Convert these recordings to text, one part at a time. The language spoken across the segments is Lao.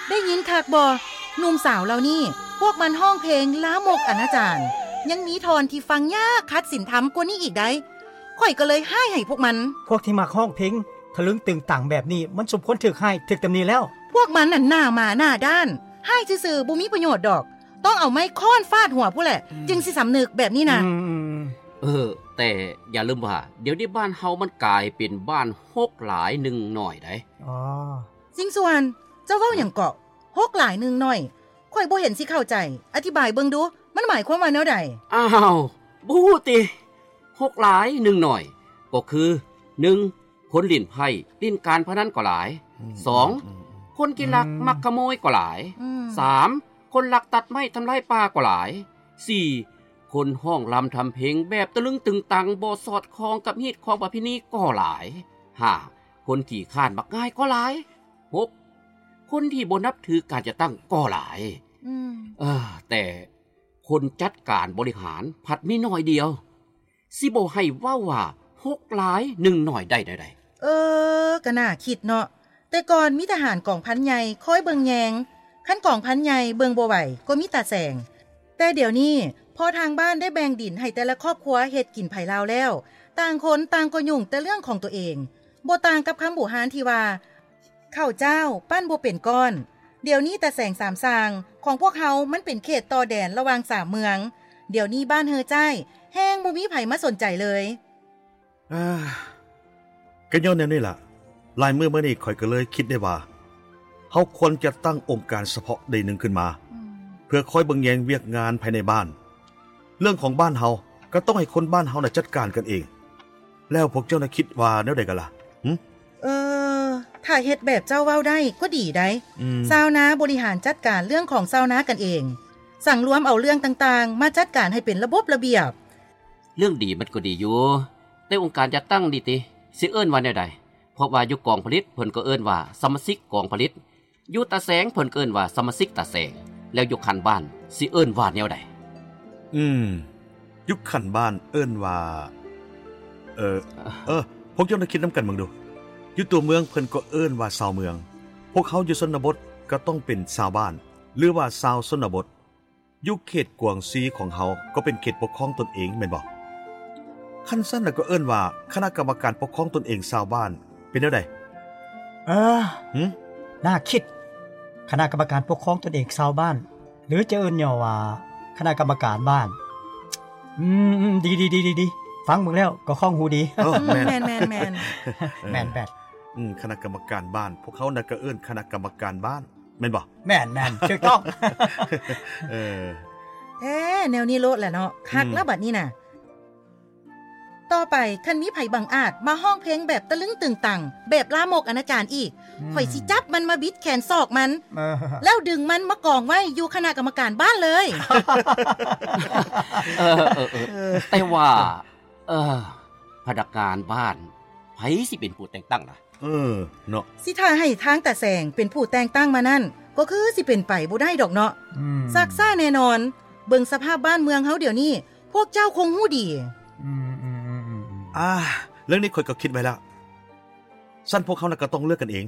ໄດ້ຍິນຄັກບໍ່? ໜຸ່ມສາວເຫຼົ່ານີ້ ພວກມັນຮ້ອງເພງລາມົກອະນາຈານ ຍັງມີທ່ອນທີ່ຟັງຍາກຂັດສິນທຳກວ່ານີ້ອີກໃດ໋. ຂ້ອຍກໍເລີຍຮ້າຍໃຫ້ພວກມັນ. ພວກທີ່ມັກຮ້ອງເພງທະລຶງຕຶງຕັງແບບນີ້ ມັນສົມຄວນຖືກຮ້າຍ, ຖືກຕຳໜິແລ້ວ. ພວກມັນນັ້ນໜ້າໝາໜ້າດ້ານ, ຮ້າຍຊື່ໆບໍ່ມີປະໂຫຍດດອກ. ຕ້ອງເອົາໄມ້ຄ້ອນຟາດຫົວພຸ້ນແຫຼະ ອືມ ຈຶ່ງຊິສຳນຶກແບບນີ້ນະ. ອືມ ເອີ ແຕ່ຢ່າລືມວ່າ ດຽວນີ້ບ້ານເຮົາມັນກາຍເປັນບ້ານຫົກຫຼາຍໜຶ່ງໜ້ອຍໃດ໋. ອໍ ຊິງສ່ວນ ເຈົ້າເວົ້າຫຍັງເກາະ? ຫົກຫຼາຍໜຶ່ງໜ້ອຍ? ຂ້ອຍບໍ່ເຫັນຊິເຂົ້າໃຈ. ອະທິບາຍເບິ່ງດູ, ມັນໝາຍຄວາມວ່າແນວໃດ? ອ້າວ ບໍ່ຮູ້ຕິ? ຫົກຫຼາຍໜຶ່ງໜ້ອຍ ກໍຄື ໜຶ່ງ ຄົນຫຼິ້ນໄພ້ຫຼິ້ນການພະນັນກໍຫຼາຍ. ອືມ ສອງ ອືມ ຄົນຂີ້ລັກ ອືມ ມັກຂະໂມຍກໍຫຼາຍ. ອືມ ສາມ ຄົນລັກຕັດໄມ້ທຳລາຍປ່າກໍຫຼາຍ. ສີ່ ຄົນຮ້ອງລຳທຳເພງແບບຕະລຶງຕຶງຕັງ ບໍ່ສອດຄ່ອງກັບຮີດຄອງປະເພນີກໍຫຼາຍ. ຫ້າ ຄົນຂີ້ຄ້ານມັກງ່າຍກໍຫຼາຍ. ຫົກ ຄົນທີ່ບໍ່ນັບຖືການຈັດຕັ້ງກໍຫຼາຍ. ອືມ ເອີ ແຕ່ຄົນຈັດການບໍລິຫານພັດມີໜ້ອຍດຽວ. ຊິບໍ່ໃຫ້ເວົ້າວ່າຫົກຫຼາຍໜຶ່ງໜ້ອຍໄດ້ແນວໃດ? ເອີ ກະໜ້າຄິດເນາະ. ແຕ່ກ່ອນມີທະຫານກອງພັນໃຫຍ່ຄອຍເບິ່ງແຍງ, ຄັນກອງພັນໃຫຍ່ເບິ່ງບໍ່ໄຫວກໍມີຕາແສງ. ແຕ່ດຽວນີ້ພໍທາງບ້ານໄດ້ແບ່ງດິນໃຫ້ແຕ່ລະຄອບຄົວເຮັດກິນໃຜລາວແລ້ວ, ຕ່າງຄົນຕ່າງກໍຫຍຸ້ງແຕ່ເລື່ອງຂອງຕົວເອງ. ບໍ່ຕ່າງກັບຄຳບູຮານທີ່ວ່າ ເຂົ້າເຈົ້າປັ້ນບໍ່ເປັນກ້ອນ. ດຽວນີ້ຕາແສງສາມສ້າງຂອງພວກເຮົາມັນເປັນເຂດຕໍ່ແດນລະຫວ່າງສາມເມືອງ. ດຽວນີ້ບ້ານເຮີຈ້າຍແຮ່ງບໍ່ມີໃຜມາສົນໃຈເລີຍ. ເອີ ກໍຍ້ອນແນວນີ້ລະ ຫຼາຍມື້ມານີ້ຂ້ອຍກໍເລີຍຄິດໄດ້ວ່າ ເຮົາຄວນຈະຕັ້ງອົງການສະເພາະໃດໜຶ່ງຂຶ້ນມາ ອືມ ເພື່ອຄອຍເບິ່ງແຍງວຽກງານພາຍໃນບ້ານ. ເລື່ອງຂອງບ້ານເຮົາກໍຕ້ອງໃຫ້ຄົນບ້ານເຮົານະຈັດການກັນເອງ. ແລ້ວພວກເຈົ້ານະຄິດວ່າແນວໃດກັນລະ? ຫຶ? ເອີ ຖ້າເຮັດແບບເຈົ້າເວົ້າໄດ້ກໍດີໃດ໋. ອືມ ຊາວນາບໍລິຫານຈັດການເລື່ອງຂອງຊາວນາກັນເອງ, ສັງລວມເອົາເລື່ອງຕ່າງໆມາຈັດການໃຫ້ເປັນລະບົບລະບຽບ. ເລື່ອງດີມັນກໍດີຢູ່, ແຕ່ອົງການຈັດຕັ້ງນີ້ຕິ ຊິເອີ້ນວ່າແນວໃດ? ເພາະວ່າຢູ່ກອງຜະລິດເພິ່ນກໍເອີ້ນວ່າສະມາຊິກກອງຜະລິດ, ຢູ່ຕາແສງເພິ່ນກໍເອີ້ນວ່າສະມາຊິກຕາແສງ, ແລ້ວຢູ່ຂັ້ນບ້ານຊິເອີ້ນວ່າແນວໃດ? ອືມ ຢູ່ຂັ້ນບ້ານເອີ້ນວ່າ ເອີ ເອີ ພວກເຈົ້າໄດ້ຄິດນຳກັນເບິ່ງດູ. ຢູ່ຕົວເມືອງເພິ່ນກໍເອີ້ນວ່າຊາວເມືອງ, ພວກເຮົາຢູ່ຊົນນະບົດກໍຕ້ອງເປັນຊາວບ້ານ ຫຼືວ່າຊາວຊົນນະບົດ. ຢູ່ເຂດກວາງຊີຂອງເຮົາກໍເປັນເຂດປົກຄອງຕົນເອງແມ່ນບໍ່? ຄັນຊັ້ນລະກໍເອີ້ນວ່າຄະນະກຳມະການປົກຄອງຕົນເອງຊາວບ້ານ ເປັນແນວໃດ? ເອີ ຫຶ? ໜ້າຄິດ. ຄະນະກຳມະການປົກຄອງຕົນເອງຊາວບ້ານ ຫຼືຈະເອີ້ນຫຍໍ້ວ່າຄະນະກຳມະການບ້ານ. ອືມ ອືມ ອືມ ດີ ດີ ຟັງເບິ່ງແລ້ວກໍຄ່ອງຫູດີ. ເອີ ແມ່ນ ແມ່ນ ແມ່ນ ແມ່ນ ແມ່ນແບບ ອືມ ຄະນະກຳມະການບ້ານ ພວກເຮົານະກໍເອີ້ນຄະນະກຳມະການບ້ານ ແມ່ນບໍ່? ແມ່ນ ແມ່ນ ຖືກຕ້ອງ. ເອີ ແທ້ ແນວນີ້ໂລດແຫຼະເນາະ. ຄັກ ອືມ ລະບັດນີ້ນະ. ຕໍ່ໄປຄັນມີໃຜບັງອາດມາຮ້ອງເພງແບບຕະລຶງຕຶງຕັງ ແບບລາມົກອະນາຈານອີກ ອືມ ຂ້ອຍຊິຈັບມັນມາບິດແຂນສອກມັນ ເອີ ແລ້ວດຶງມັນມາກອງໄວ້ຢູ່ຄະນະກຳມະການບ້ານເລີຍ. ເອີ ເອີ ເອີ ແຕ່ວ່າ ເອີ ພະນັກງານບ້ານ ໃຜຊິເປັນຜູ້ແຕ່ງຕັ້ງລະ? ເອີ ເນາະ ຊິຖ້າໃຫ້ທາງຕາແສງເປັນຜູ້ແຕ່ງຕັ້ງມານັ້ນ ກໍຄືຊິເປັນໄປບໍ່ໄດ້ດອກເນາະ. ອືມ ຊັກຊ້າແນ່ນອນ. ເບິ່ງສະພາບບ້ານເມືອງເຮົາດຽວນີ້ ພວກເຈົ້າຄົງຮູ້ດີ. ອືມ ອືມ ອືມ ອືມ ອືມ ອ່າ ເລື່ອງນີ້ຂ້ອຍກໍຄິດໄວ້ແລ້ວ. ຊັ້ນພວກເຮົານະກໍຕ້ອງເລືອກກັນເອງ,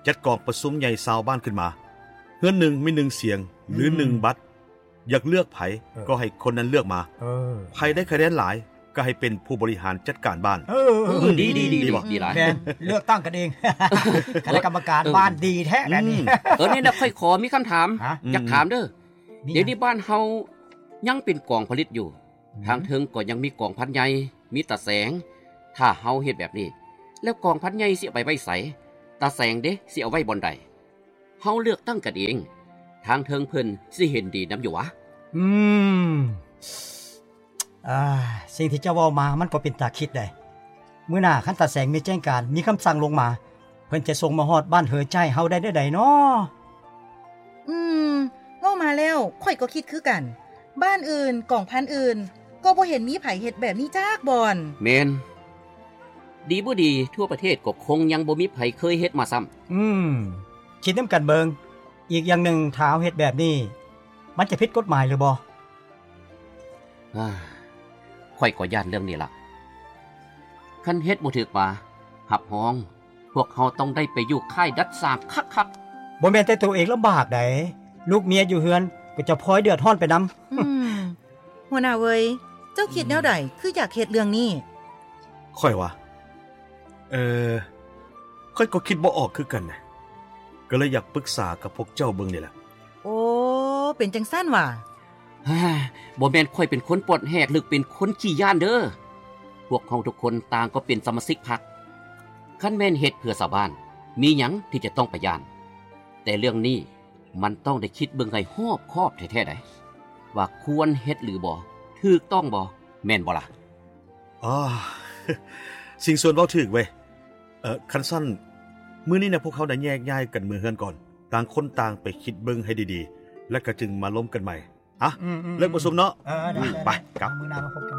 ຈັດກອງປະຊຸມໃຫຍ່ຊາວບ້ານຂຶ້ນມາ. ເຮືອນໜຶ່ງມີໜຶ່ງສຽງ ຫຼື ອືມ ໜຶ່ງບັດ. ຢາກເລືອກໃຜ ເອີ ກໍໃຫ້ຄົນນັ້ນເລືອກມາ. ເອີ ໃຜໄດ້ຄະແນນຫຼາຍ ກໍໃຫ້ເປັນຜູ້ບໍລິຫານຈັດການບ້ານ. ເອີ ເອີ ເອີ ອືມ ດີ ດີ ດີ ດີ ດີ ບໍ່? ດີຫຼາຍ ແມ່ນ ເລືອກຕັ້ງກັນເອງ. ຄະນະກຳມະການ ເອີ ບ້ານດີແທ້ແບບນີ້. ອືມ ເອີ ນີ້ນະ ຂ້ອຍຂໍມີຄຳຖາມ ຮະ? ຢາກຖາມເດີ. ອືມ ດຽວນີ້ບ້ານເຮົາຍັງເປັນກອງຜະລິດຢູ່. ອືມ ທາງເທິງກໍຍັງມີກອງພັນໃຫຍ່ ມີຕາແສງ. ຖ້າເຮົາເຮັດແບບນີ້ ແລ້ວກອງພັນໃຫຍ່ຊິເອົາໄປໄວ້ໃສ? ຕາແສງເດ ຊິເອົາໄວ້ບ່ອນໃດ? ເຮົາເລືອກຕັ້ງກັນເອງ ທາງເທິງເພິ່ນຊິເຫັນດີນຳຢູ່ຫວາ? ອືມ ອ່າ ສິ່ງທີ່ເຈົ້າເວົ້າມາມັນກໍເປັນຕາຄິດໄດ໋. ມື້ໜ້າຄັນຕາແສງມີແຈ້ງການ ມີຄຳສັ່ງລົງມາ ເພິ່ນຈະສົ່ງມາຮອດບ້ານເຮີຈ້າຍເຮົາໄດ້ແນວໃດນໍ? ອືມ ເວົ້າມາແລ້ວຂ້ອຍກໍຄິດຄືກັນ. ບ້ານອື່ນ ກອງພັນອື່ນ ກໍບໍ່ເຫັນມີໃຜເຮັດແບບນີ້ຈັກບ່ອນ. ແມ່ນ. ດີບໍ່ດີ ທົ່ວປະເທດກໍຄົງຍັງບໍ່ມີໃຜເຄີຍເຮັດມາຊ້ຳ. ອືມ ຄິດນຳກັນເບິ່ງ. ອີກຢ່າງໜຶ່ງ ຖ້າເຮົາເຮັດແບບນີ້ ມັນຈະຜິດກົດໝາຍຫຼືບໍ່? ເອີ ຂ້ອຍກໍຢ້ານເລື່ອງນີ້ລະ. ຄັນເຮັດບໍ່ຖືກມາ ຮັບຮອງ ພວກເຮົາຕ້ອງໄດ້ໄປຢູ່ຄ້າຍດັດສ້າງຄັກໆ. ບໍ່ແມ່ນແຕ່ໂຕເອງລຳບາກໃດ໋ ລູກເມຍຢູ່ເຮືອນກໍຈະພອຍເດືອດຮ້ອນໄປນຳ. ອືມ ຫົວໜ້າເວີຍ ເຈົ້າຄິດແນວໃດ ຄືຢາກເຮັດເລື່ອງນີ້? ຂ້ອຍຫວາ? ເອີ ຂ້ອຍກໍຄິດບໍ່ອອກຄືກັນນະ ກໍເລີຍຢາກປຶກສາກັບພວກເຈົ້າເບິ່ງນີ້ແຫຼະ. ໂອ້ ເປັນຈັ່ງຊັ້ນຫວາ? ບໍ່ແມ່ນຂ້ອຍເປັນຄົນປອດແຫກ ຫຼື ເປັນຄົນຂີ້ຢ້ານເດີ. ພວກເຮົາທຸກຄົນຕ່າງກໍເປັນສະມາຊິກພັກ. ຄັນແມ່ນເຮັດເພື່ອຊາວບ້ານ ມີຫຍັງທີ່ຈະຕ້ອງໄປຢ້ານ? ແຕ່ເລື່ອງນີ້ມັນຕ້ອງໄດ້ຄິດເບິ່ງໃຫ້ຮອບຄອບແທ້ໆໃດ໋ ວ່າຄວນເຮັດຫຼືບໍ່, ຖືກຕ້ອງບໍ່, ແມ່ນບໍ່ລະ? ອໍ ສິງສວນເວົ້າຖືກເວີຍ. ເອີ ຄັນຊັ້ນ ມື້ນີ້ນະ ພວກເຮົານະແຍກຍ້າຍກັນເມືອເຮືອນກ່ອນ, ຕ່າງຄົນຕ່າງໄປຄິດເບິ່ງໃຫ້ດີໆ ແລ້ວກໍຈຶ່ງມາລົມກັນໃໝ່. ອະ ອືມໆໆ ເລີກປະຊຸມເນາະ. ເອີ ໄດ້ ອືມ ໄດ້ ໄປ ໄດ້ ກັບ ມື້ໜ້າມາພົບກັນ.